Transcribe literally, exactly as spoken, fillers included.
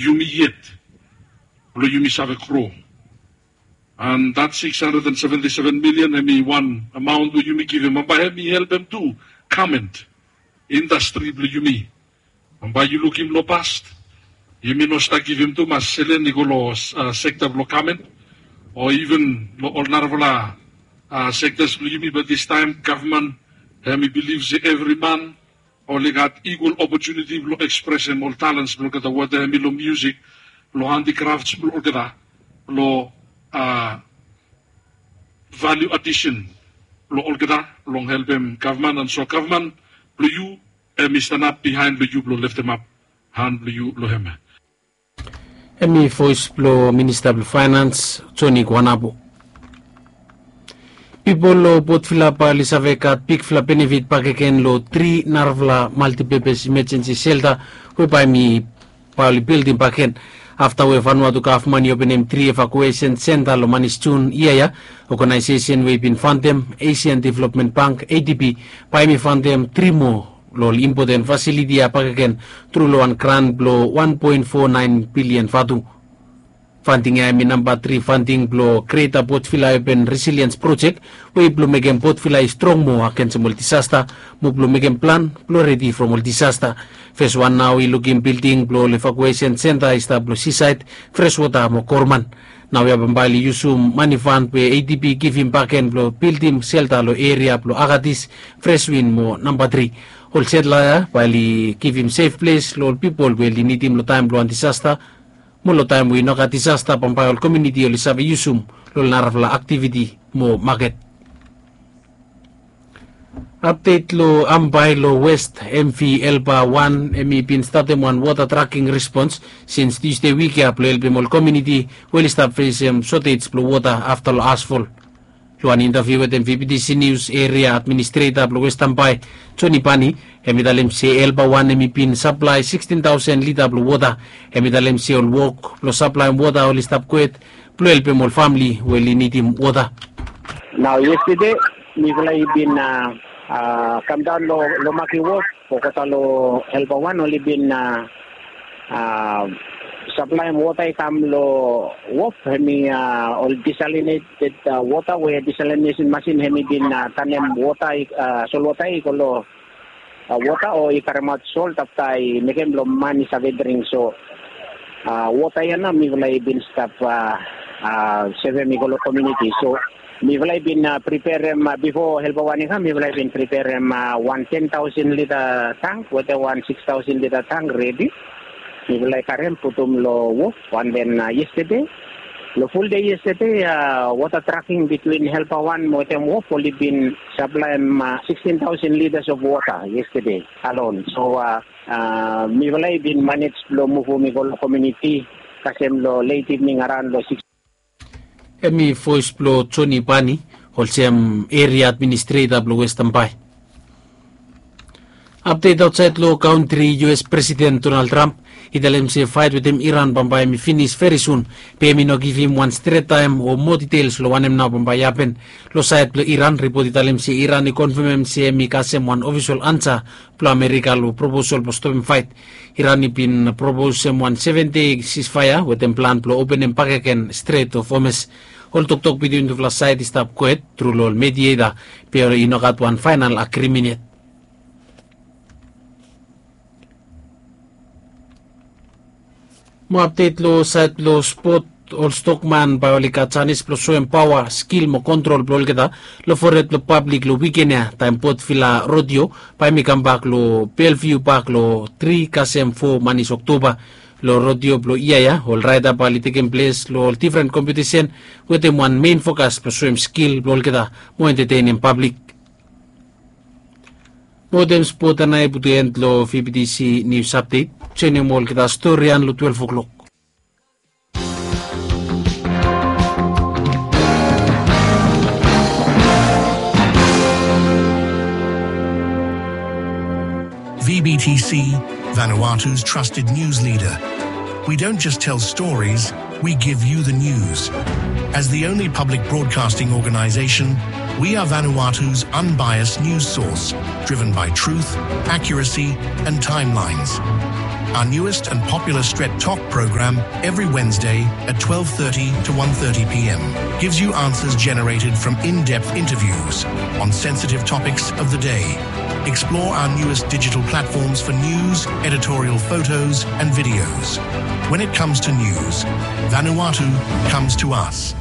yumi yet blong yumi save gro. And that six hundred and seventy-seven million hemi wan amaon blong yumi givim, bambae hemi helpem tu garment indastri blong yumi. Bambae yu lukim long past, yumi no stap givim tumas selen i go long sekta blong garment o iven long ol narafala sektas blong yumi. Bat distaem gavman hemi bilif se evri man oli gat ikwal opotuniti blong ekspresem ol talens blong olgeta, weta hemi long miusik, long handikrafts blong olgeta, long valiu adisen blong olgeta, long helpem gavman. And so gavman blong yu hemi stanap bihaen blong yu blong leftemap han blong yu long hem. Hemi voes blong minista blong faenans, Joni Guanabo. Pipol long Potvila bae oli save gat bigfala benefit bakegen long tri narafala maltipepes imajensi selta we bae hemi bae oli bildim bakegen. Afta we Vanuatu gavman i openem tri evakuesen senta long manis Jun yia ya, oganaesesen we i bin fandem, Asian Development Bank, A D B, bae hemi fandem tri moa long ol impoten fasiliti ya bakegen tru long wan gran blong wan poen fo naen bilian vatu. Fanding ya hemi namba tri fanding blong Greater Potvila Urban Resilience Project, we i blong mekem Potvila i strong moa agensem ol disasta, mo blong mekem plan blong redi from ol disasta. Fes wan nao i lukim bilding blong ol evakuesen senta i stap long sisaed, freswota mo gorman. Naoia bambae oli yusum mani fan we A D B i givim bakegen blong bildim selta long eria blong Agatis, Freswin mo namba tri. Ol setla ya bae oli givim sef ples long ol pipol we oli nidim long taem blong wan disasta, mo long taem we i no gat disasta bambae ol komuniti oli save yusum long ol narafala aktiviti mo maket. Apdet long Ambae long West, M V Elba wan hemi bin statem wan wota traking respons sins Tusde wik ya blong helpem ol komuniti we oli stap fesem sotej blong wota afta long asfol. Long wan intaviu wetem V B T C Nius, eria administreta blong West Ambae, Joni Bani, hemi talem se Elba wan hemi bin saplae sikstin taosen lita blong wota. Hemi talem se ol wok blong saplaem wota oli stap kwet blong helpem ol famle we oli nidim wota. Nao yestede mifala i bin a, a, kamdaon long, long Maki Wof, olgeta long Elba wan oli bin a, a, saplaem wota i kam long wof, hemi a, ol disalineted a, wota we disalinesen masin hemi bin a, tanem wota i, a, solwota i go long a, wota o i karemaot sol afta i mekem blong man i save dring. So a, wota ya nao mifala i bin stap a, a, sevem i go long komuniti. So mifala i bin a, priperem a, bifo Elba wan i kam, mifala i bin priperem a, wan ten taosen lita tang wetem wan siks taosen lita tang redi. Mifala i karem putum long wof, and then a, yestede, long fuldei yestede a, wota traking bitwin Elba wan mo wetem wof oli bin saplaem a, sikstin taosen litas of wota yestede alon. So a, a, mifala i bin manej blong muvum i go long komuniti kasem long let ivning araon long siks. Hemi voes blong Joni Bani, olsem eria administreta blong West Ambae. Apdet aotsaed long kantri, U S Presiden Donald Trump i talem se faet wetem Iran bambae hemi finis veri sun, be hemi no givim wan stret taem o moa ditels long wanem nao bambae i hapen. Long saed blong Iran, ripot i talem se Iran i konfamem se hemi kasem wan ofisol ansa blong Amerika long proposol blong stopem faet. Iran i bin proposem wan seven dei sisfaea wetem plan blong openem bakegen Strait of Hormuz. Ol toktok bitwin tufala saed i stap kwet tru long ol medieta, be i no gat wan faenal agrimen yet. Mo apdet long saed blong spot, ol stokman bae oli gat janis blong soem paoa, skil mo kontrol blong olgeta long fored blong pablik long wiken ya, taem Potvila Rodeo bae hemi kambak long Belviu Pak long tri kasem fo manis Oktoba. Long rodeo blong yia ya, ol raeda bae oli tekem ples long ol difren kompetisen wetem wan mein fokas blong soem skil blong olgeta mo entetenem pablik. Mo wetem spot ya nao i putum en long V B T C Nius Apdet. Joenem olgeta storian long twelef o'klok. V B T C, Vanuatu's trusted news leader. We don't just tell stories, we give you the news. As the only public broadcasting organization, we are Vanuatu's unbiased news source, driven by truth, accuracy, and timelines. Our newest and popular Stret Talk program every Wednesday at twelve thirty to one thirty p m gives you answers generated from in-depth interviews on sensitive topics of the day. Explore our newest digital platforms for news, editorial photos, and videos. When it comes to news, Vanuatu comes to us.